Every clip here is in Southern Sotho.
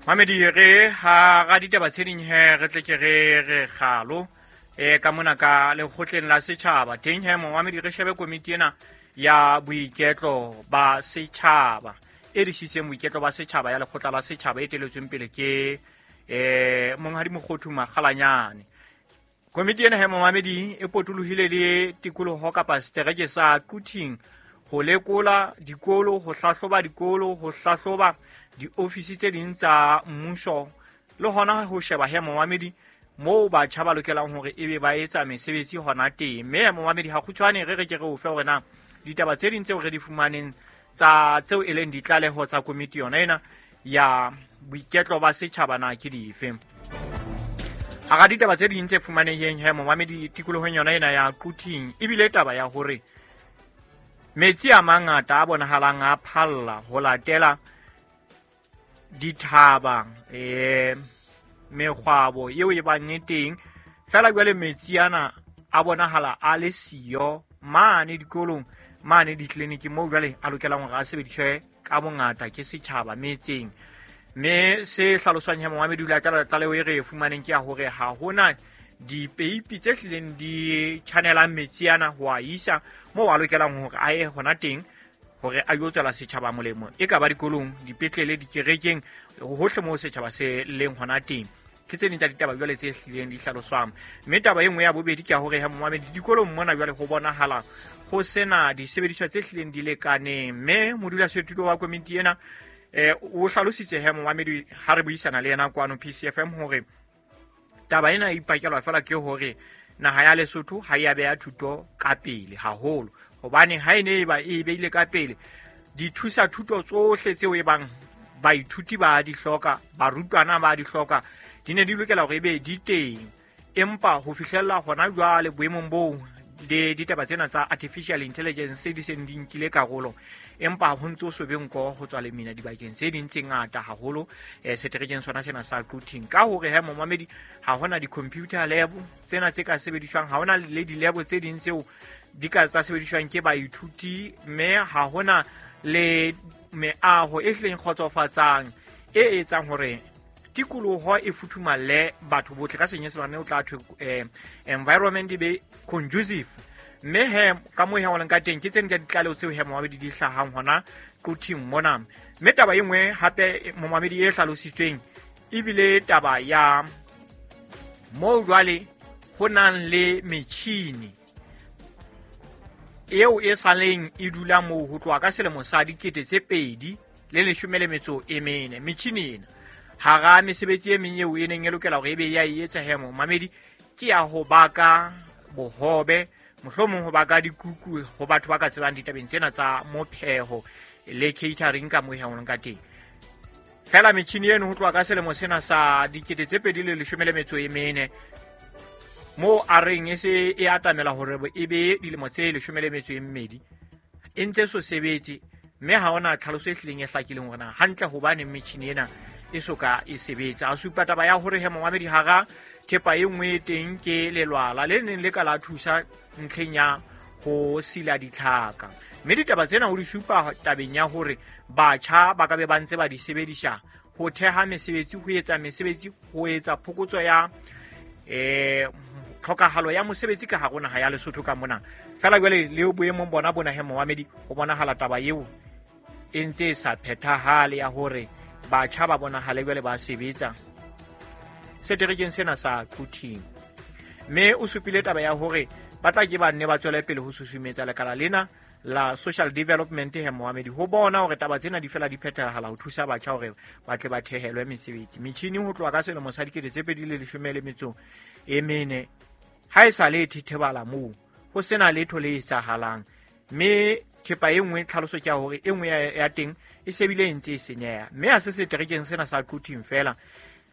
Mamedi re ha ra ditaba tse ding he re tle ke re re kgalo ka mona ka lekgotleng la setjhaba teng he momamedi re shebe komiti ena ya boiketlo ba setjhaba e disitseng boiketlo ba setjhaba ya lekgotla la setjhaba e teletsweng pele ke monghadi Mokgothu Makgalanyane. Komiti ena he momamedi e potolohile le tikoloho kapa setereke sa Quthing ho lekola dikolo, ho hlahloba dikolo, ho hlahloba diofisi tse ding tsa mmuso le hona ho sheba he momamedi moo batjha ba lokelang hore ebe ba etsa mesebetsi hona teng. Mme momamedi ha kgutshwane re re ke re o fe hore na ditaba tse ding tseo re di fumaneng tsa tseo e leng ditlaleho tsa komiti yona ena ya boiketlo ba setjhaba na ke dife. Hara ditaba tse ding tse fumaneheng he momamedi tikolohong yona ena ya Quthing ebile taba ya hore metsi a mangata a bonahalang a phalla ho latela dithaba mekgwabo eo e bang e teng fela jwale metsi ana a bonahala a le siyo mane dikolong mane ditleliniking moo jwale a lokelang hore a sebediswe ka bongata ke setjhaba metseng. Mme se hlaloswang he momamedi o latela tlaleho e re e fumaneng ke ya hore ha hona dipeipi tse hlileng di channelang metsi ana ho a isa moo a lokelang hore a ye hona teng hore a yo tswela setjhaba molemo, e ka ba dikolong, dipetlele, dikerekeng, hohle moo setjhaba se leng hona teng. Ke tse ding tsa ditaba jwale tse hlileng di hlaloswang. Mme taba e nngwe ya bobedi ke ya hore he momamedi dikolong mona jwale ho bonahala ho sena disebediswa tse hlileng di lekaneng. Mme modulasetulo wa komiti ena o hlalositse he momamedi ha re buisana le yena kwano PCFM hore taba ena e ipakelwa fela ke hore naha ya Lesotho ha e a beha thuto ka pele haholo, hobane ha e ne e ba e beile ka pele dithusa thuto tsohle tseo e bang baithuti ba di hloka, barutwana ba di hloka, di ne di lokela hore ebe di teng. Empa ho fihlella hona jwale boemong boo le ditaba tsena tsa artificial intelligence di seng di nkile karolo, empa ho ntse ho so be nko ho tswa lemina dibakeng tse ding tse ngata haholo seterekeng sona sena sa Quthing. Ka hore he momamedi ha hona di-computer lab tsena tse ka sebediswang, ha hona le di-lab tse ding tseo di ka tsa sebediswang ke baithuti, mme ha hona le meaho e hlileng kgotsofatsang e etsang hore tikoloho e futhumalle batho botle. Ka senyesemane o tla thwe environment e be conducive. Mme he ka moo he leng ka teng ke tse ding tsa ditlaleho tseo he momamedi di hlahang hona Quthing mona. Mme taba e nngwe hape momamedi e hlalositsweng ebile taba ya moo jwale ho nang le metjhini eo e saleng e dula moo ho tloha ka selemo sa 2014. Metjhini ena hara mesebetsi e meng eo e neng e lokela hore ebe ya e etsa he momamedi ke ya ho baka bohobe, mohlomong ho baka dikuku ho batho ba ka tsebang ditabeng tsena tsa mopheho le catering ka moo he ka teng. Fela metjhini eno ho tloha ka selemo sena sa 2014 moo a reng e se e atamela hore e be dilemo tse 12 e ntse so sebetse, mme ha hona tlhaloso e hlileng e hlakileng hore na hantle hobane metjhini ena e soka e sebetsa. A supa taba ya hore he momamedi hara thepa e nngwe e teng ke lelwala le neng le ka la thusa ntlheng ya ho sila ditlhaka. Mme ditaba tsena o di supa tabeng ya hore batjha ba ka be ba ntse ba di sebedisa ho theha mesebetsi, ho etsa mesebetsi, ho etsa phokotso ya tlhokahalo ya mosebetsi ka hare naha ya Lesotho ka mona. Fela jwale le boemong bona bona he momamedi ho bonahala taba eo e ntse e sa phethahale ya hore batjha ba bonahale jwale ba sebetsa seterekeng sena sa Quthing. Mme o supile taba ya hore ba tla ke ba nne ba tswele pele ho susumetsa lekala lena la social development he momamedi ho bona hore taba tsena di fela di phethahala ho thusa batjha hore ba tle ba thehelwe mesebetsi. Metjhini ho tloha ka selemo sa 2014 ha e sa le thethebala moo ho sena letho le etsahalang. Mme thepa e nngwe tlhaloso ke ya hore e nngwe ya teng e sebile e ntse e senyeha. Mme ha se seterekeng sena sa Quthing fela,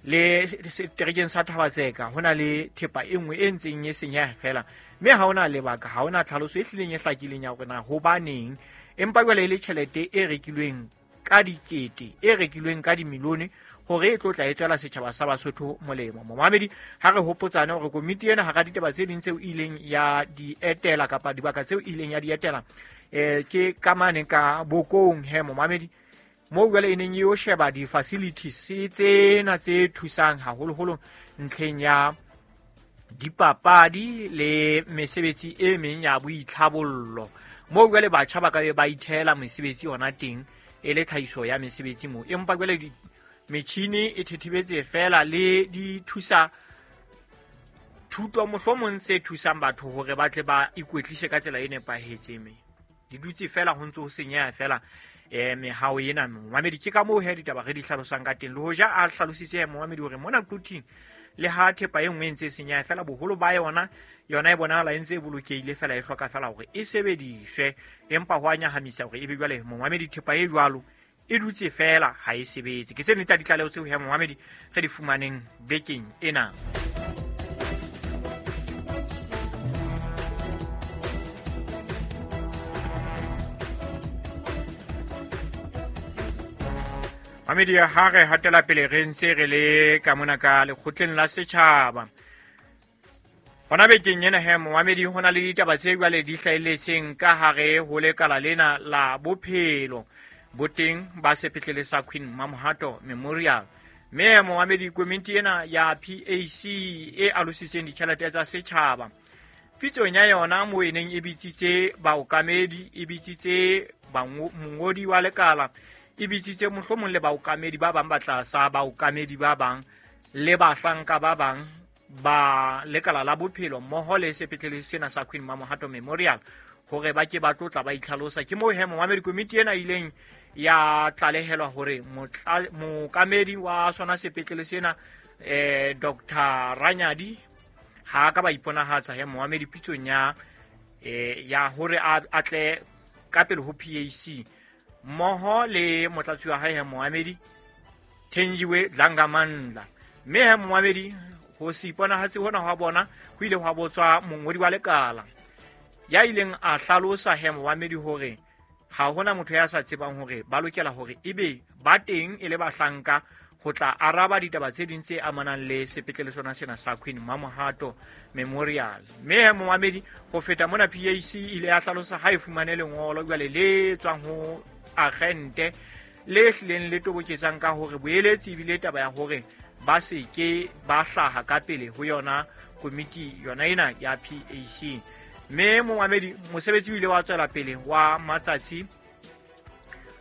le seterekeng sa Thaba-Tseka ho na le thepa e nngwe e ntseng e senyeha fela, mme ha hona lebaka, ha hona tlhaloso e hlileng e hlakileng ya hore na hobaneng. Empa jwale e le tjhelete e rekilweng ka dikete, e rekilweng ka dimilione hore e tlo tla e tswela setjhaba sa Basotho molemo. Momamedi ha re hopotsane hore komiti ena hara ditaba tse ding tseo e ileng ya di etela kapa dibaka tseo e ileng ya di etela ke ka mane ka Bokong he momamedi Moo jwale e neng e yo sheba di-facilities tsena tse thusang haholoholo ntlheng ya dipapadi le mesebetsi e meng ya boitlhabollo. Moo jwale batjha ba ka be ba ithehela mesebetsi yona teng e le tlhahiso ya mesebetsi moo. Empa jwale metjhini e thethebetse fela le di thusa thuto mohlomong tse thusang batho hore ba tle ba ikwetlise ka tsela e nepahetseng. Me di dutse fela ho ntse ho senyeha fela mehao ena. Momamedi, ke ka moo he ditaba re di hlalosang ka teng. Le hoja a hlalositse momamedi hore mona Quthing le ha thepa e nngwe e ntse e senyeha fela, boholo ba yona yona e bonahala e ntse e bolokehile fela, e hloka fela hore e sebediswe. Empa ho a nyahamisa hore ebe jwale momamedi thepa e jwalo e dutse fela ha e sebetse. Ke tse ding tsa ditlaleho tseo he momamedi re di fumaneng bekeng ena. Mamedi, ha re hatela pele re ntse re le ka mona ka lekgotleng la setjhaba. Hona bekeng ena he momamedi, ho na le ditaba tse jwale di hlahelletseng ka hare ho lekala lena la bophelo boteng ba sepetlele sa Queen Mamohato Memorial. Mme momamedi, komiti ena ya PAC e alositseng ditjhelete tsa setjhaba, pitsong ya yona moo e neng e bitsitse baokamedi, e bitsitse mongodi wa lekala, e bitsitse mohlomong le baokamedi ba bang ba tlasa baokamedi ba bang le bahlanka ba bang ba lekala la bophelo mmoho le sepetlele sena sa Queen Mamohato Memorial hore ba ke ba tlotla ba itlhalosa. Ke moo he momamedi komiti ena ileng ya tlalehelwa hore mookamedi wa sona sepetlele sena Dr. Ranyadi ha ka ba iponahatsa he momamedi pitsong ya hore a tle ka pele ho PAC mmoho le motlatsi wa hae he momamedi Thenjiwe Dlangamandla. Mme he momamedi ho se iponahatse hona hwa bona ho ile hwa botswa mongodi wa lekala ya ileng a hlalosa he momamedi hore ha hona motho ya sa tsebang hore ba lokela hore ebe ba teng e le bahlanka ho tla araba ditaba tse ding tse amanang le sepetlele sona sena sa Queen Mamohato Memorial. Mme momamedi, ho feta mona PAC ile ya hlalosa ha e fumane lengolo jwale le tswang ho agente le hlileng le toboketsang ka hore boeletsi ebile taba ya hore ba se ke ba hlaha ka pele ho yona komiti yona ena ya PAC. Mme momamedi, mosebetsi o ile wa tswela pele wa matsatsi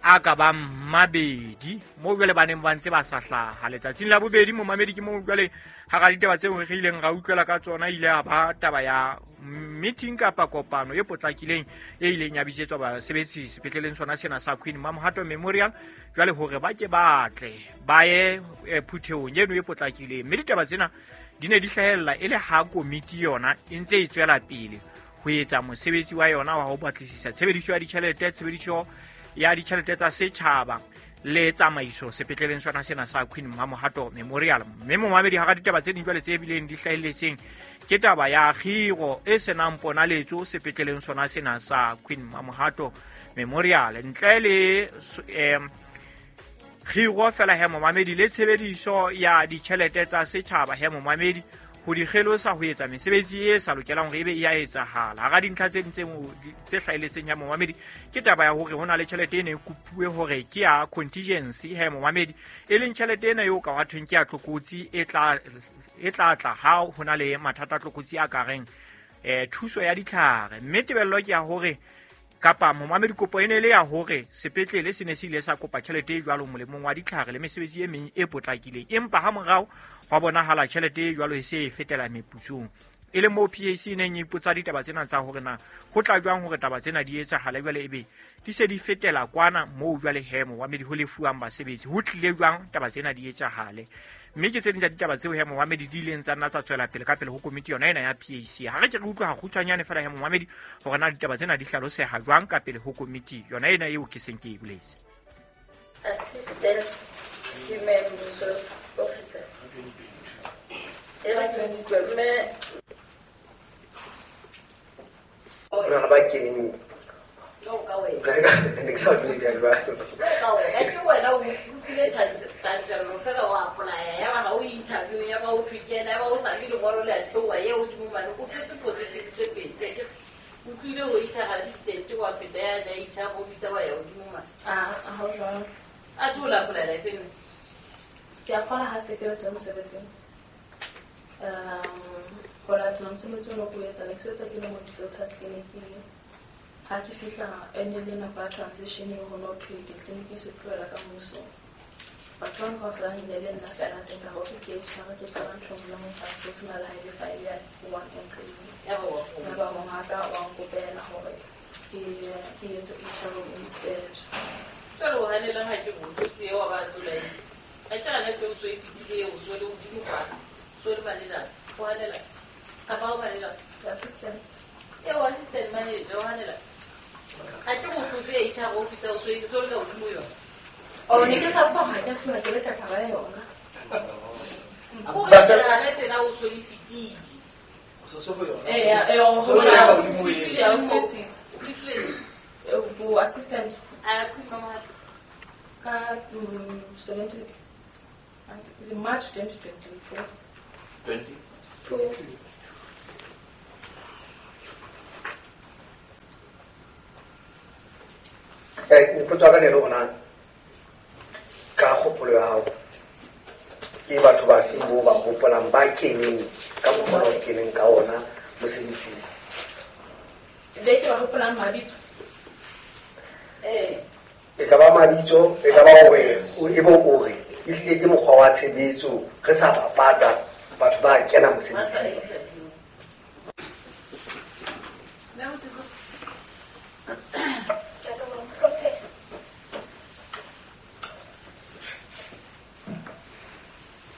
a ka bang mabedi moo jwale ba neng ba ntse ba sa hlaha. Letsatsing la bobedi momamedi ke moo jwale hara ditaba tseo re ileng ra utlwela ka tsona ile ya ba taba ya meeting kapa kopano e potlakileng e ileng ya bitsetswa basebetsi sepetleleng sona sena sa Queen Mamohato Memorial jwale hore ba ke ba tle ba ye phuthehong eno e potlakileng. Mme ditaba tsena di ne di hlahella e le ha komiti yona e ntse e tswela pele ho etsa mosebetsi wa yona wa ho batlisisa tshebediso ya ditjhelete, tshebediso ya ditjhelete tsa setjhaba le tsamaiso sepetleleng sona sena sa Queen Mamohato Memorial. Mme momamedi, hara ditaba tse ding jwale tse bileng di hlahelletseng ke taba ya kgiro e senang ponaletso sepetleleng sona sena sa Queen Mamohato Memorial. Ntle le kgiro fela he momamedi le tshebediso ya ditjhelete tsa setjhaba he momamedi ho di kgelosa ho etsa mesebetsi e sa lokelang hore ebe e a etsahala. Hara dintlha tse ding tse hlahelletseng ya momamedi ke taba ya hore ho na le tjhelete e ne e kopuwe hore ke ya contingency he momamedi, e leng tjhelete ena eo ka wa thweng ke ya tlokotsi e tla tla ha ho na le mathata a tlokotsi a ka reng thuso ya ditlhare. Mme tebello ke ya hore kapa momamedi kopo e ne le ya hore sepetlele se ne se ile sa kopa tjhelete e jwalo molemong wa ditlhare le mesebetsi e meng e potlakileng, empa ha morao hwa bonahala tjhelete e jwalo e se e fetela meputsong. E le moo PAC e neng e ipotsa ditaba tsena tsa hore na ho tla jwang hore taba tsena di etsahale jwale ebe di se di fetela kwana moo jwale he momamedi ho lefuwang basebetsi, ho tlile jwang taba tsena di etsahale. Mme ke tse ding tsa ditaba tseo he momamedi di ileng tsa nna tsa tswela pele ka pele ho komiti yona ena ya PAC. Ha re ke re utlwa hakgutshwanyane fela he momamedi hore na ditaba tsena di hlaloseha jwang ka pele ho komiti yona ena eo ke seng ke e boletse. Assistant Human Resource Officer. Rona ba keneng. Ne ke sa utlwe bjang jwale. Ka wena, ke wena o utlwile tantelo fela wa apply-a, ya ba ha o interview, ya ba o thwe ke yena, ya ba o sa le lengolo le a showa, ye hodimo mane, o tletse position tse pedi. Ke utlwile ho HR assistant wa feta ya na HR officer wa ya hodimo mane. Ah, ha ho jwalo. A tlo la apply life nne. Ke a kgona ha se ke le teng mosebetsing. Ho latela mosebetsi o no ko etsa, ne ke sebetsa ke le motivator clinic-ing. Ha ke fihla e ne le nako ya transition ho no thwe ditleliniki se tlohela ka mmuso. Batho ba kaofela ne le nna fela teng ka office ya HR ke qala ntho e nngwe le nngwe fatshe ho sena le ha e le file ya one employee. Ya ba wa Ya ba mongaka wa nkopela hore ke etse HR instead. Jwale o hanelang ha ke botse eo wa ba tlola eng? Ha ke hana tseo so e fetile eo so le hodimo kwana. So le manager. O hanela. Kapa o manager. The assistant. Eo assistant manager o hanela. Ha ke motho se HR officer o so e so le ka hodimo yona. Oh, ne ke hlalosa hore ha ke a tloha ke le ka hara yona. O re hana tjena o so le fetile. Eh, o So le ka hodimo eo. Ya utlwisisa. O fihlile. Bo assistant A khuma mo hape. ka 17 March 2024. 20 Two. Potso ya ka ne le hore na ka kgopolo ya hao ke batho ba feng bo ba hopolang ba keneng ka mokgwa o keneng ka ona mosebetsing? Be ke ba hopolang mabitso. Eh. E ka ba mabitso, e ka ba hore e bo o re ehlile ke mokgwa wa tshebetso re sa bapatsa batho ba kena Ba tsa mosebetsing. interview. Mme Mosese, Ke a leboha mohlomphehi.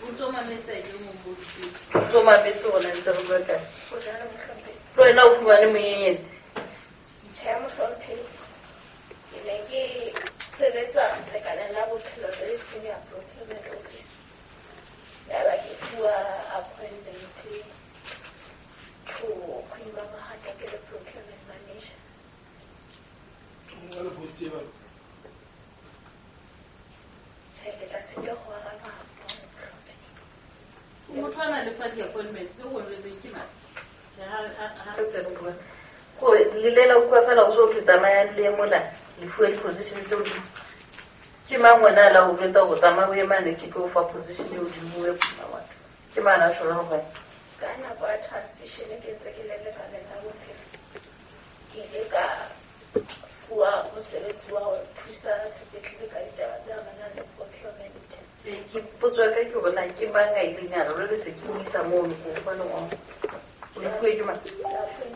O ntso mametse ke mong bo O ntso mametse rona ntse re bua kae? Ho jwalo mohlomphehi. Le wena o fumane monyenyetsi. Tjhe mohlomphehi. Ke ne ke sebetsa lekaleng la bophelo le senior procurement office. Yaba ke fuwa appointment to Queen Mama ke le procurement manager. Tjhe, ke tla sitwa ho araba mohlomphehi. Motho a na le fa di-appointment tse o jwetseng ke mang? Tjhe, ha re se re bua. Ko lelela utlwa fela o so thwe tsamayang le ye mola le fuwe di-position tse hodimo. Ke mang wena a la o jwetsa hore tsamaya o ye mane ke tlo o fa position e hodimo o ye phuma batho? Ke mang a tjho jwalo ho wena? Ka nako ya transition ke ntse ke le lekaleng la bophelo. Ke ile ka fuwa mosebetsi wa ho thusa sepetlele ka ditaba tse amanang le procurement. Ke potso ya ka ke hore na ke mang a ileng a re jwale se ke o isa mono ko o fa lengolo. O le fuwe ke mang? Ka fuwa